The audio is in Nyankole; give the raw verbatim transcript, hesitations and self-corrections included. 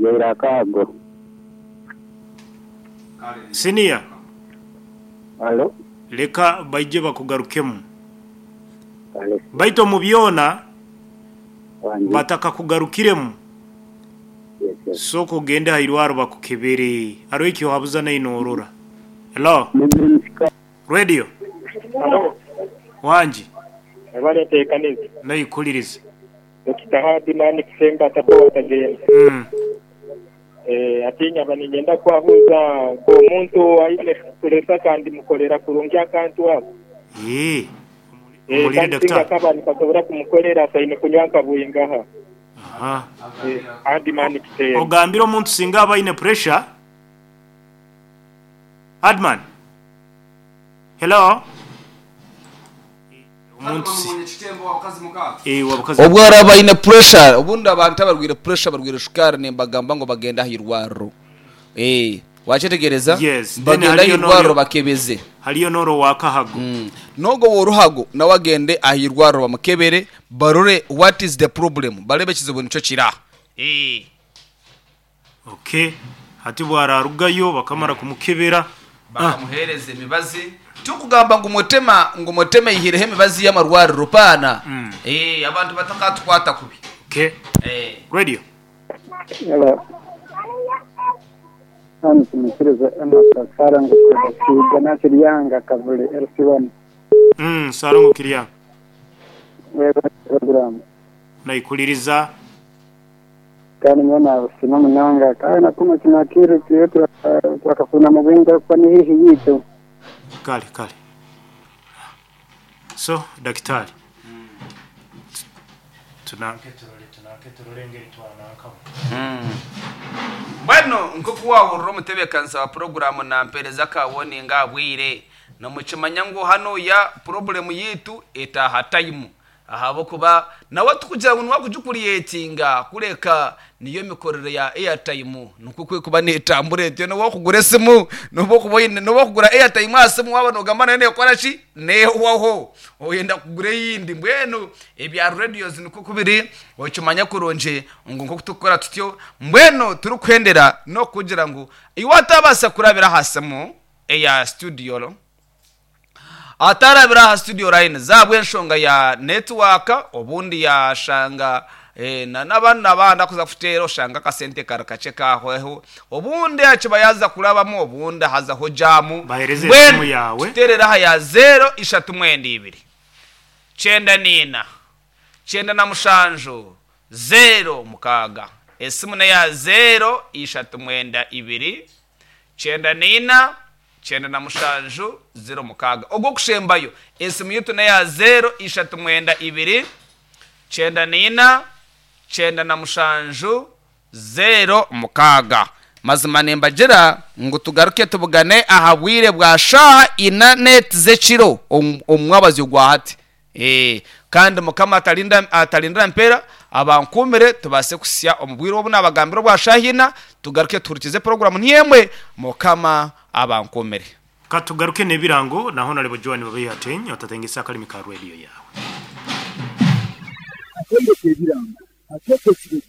Yaira akago. Senior, Alo. Leka baije bakugarukemu. Kale. Baitu omu byona Wangi. batakakugarukiremu. Yes, yes. Sooka ogende aha irwaro bakukebere. Hariho eki ohabuza naino orora. Hello. Radio. Halo, Wangi. ebaleteekaniza Naikuliriza. Dokita Hadimani Kisemba atakuwatagenda. Mm. Eh, atinya banigenda kwabuuza ng'omuntu aine puresa kandi mukolera kurungi akantu ako. Eh. Eh, Omulire kandi singa daktari. kaba nikasobora kumukolera asaine kunywa nkabwingaha. Aha. Eh, Hadimani Kisemba. Ogambire omuntu singa aba aine pressure. Adman. Hello. Omuntu si eh wabakazi. Obwo araba aine pressure, obundi abantu abarwire pressure, barwire shukaari, nimbagamba ngu bagenda aha irwariro. Eh, wakyetegereza? Yes, then bagenda aha hariyo irwariro n'oryo- bakebeze. Hariyo noro wakahago. Mm. N'ogwo w'oruhago nawe agende aha irwariro bamukebere, barore what is the problem, barebe ekizibu nikyo kira. Eh. Okay. Hati bwararugayo bakamara kumukebera. Ah, Bakamuhereza emibazi, tikugamba ngu mutema ngu muteme ihireho emibazi y'amarwariro paana. Mm. Eh, abantu batakatukwata kubi. Okay. Eh. Radio. Hello. Hano tumikiriza Emerson Sarango kusiga na Kiryanga Kavule L C one. Mm, Sarango Kiryanga. Wewe program. Naikuliriza. Kandi nyona busima munonga kandi nakuma kinakiru kiyo twakafuna mu bwinga kuba ni hihi yitu. Kale kale. So, daktari. Tunanke turore tunanke turore ngeri twanankamu. Mbwenu nk'oku wahurira omutebeekanisa wa puroguramu nampereza kawoninga abwire, nomukimanya ngu hanuya purobulemu yitu etaha tayimu, ahabwokuba nawe tukugira ngu niwakugikuriyetinga kureka niyo mikorere ya airtime nikwo kwekuba netambura etyo. Niwakugura esimu, noba oine noba okugura airtime aha simu, waba nogamba nayo nekora ki, nehwaho, oyenda kugura eyindi. Mbwenu ebya radios nikwo kubiri, okimanya kurungi ngu nkoku tukukora tutyo. Mbwenu turikuhendera n'okugira ngu iwe atabaasa kurabira aha simu eya studio, atarabira aha studio line zabwe enshonga ya network, obundi yashanga eh, na n'abandi n'abandi akuza kuteera, oshanga akasente kari kakye kahweho, obundi akiba yaza kurabamu, obundi hazaho jamu. Bahereze Mbwenu, esimu yawe. Tuteerere aha ya zero ishatu mwenda ibiri cyenda nina cyenda na mushanju zero mukaaga. Esimu neya zero ishatu mwenda ibiri cyenda nina cyenda na mushanju zero mukaaga. Ogwo kushembayo, esimu yitu neya zero ishatu mwenda ibiri cyenda nina cyenda na mushanju zero mukaaga. Mazima nimbagira ngu tugaruke tubugane aha bwire bwa shaha ina neti z'ekiro omu omwabazyo gwa hati. Eh, kandi Mukama atalinda atalindira mpera abankumire tubase kusya omu bwire obu nabagambira obwa shaha ina, tugaruke tuhurikize porogaramu ntiyemwe. Mukama abankumire. Katugaruke n'ebirango naho nalebo Joan babeyatenye otatengesa akalimi ka radio yawe. Akendeka ebirango ateeka ekirezi.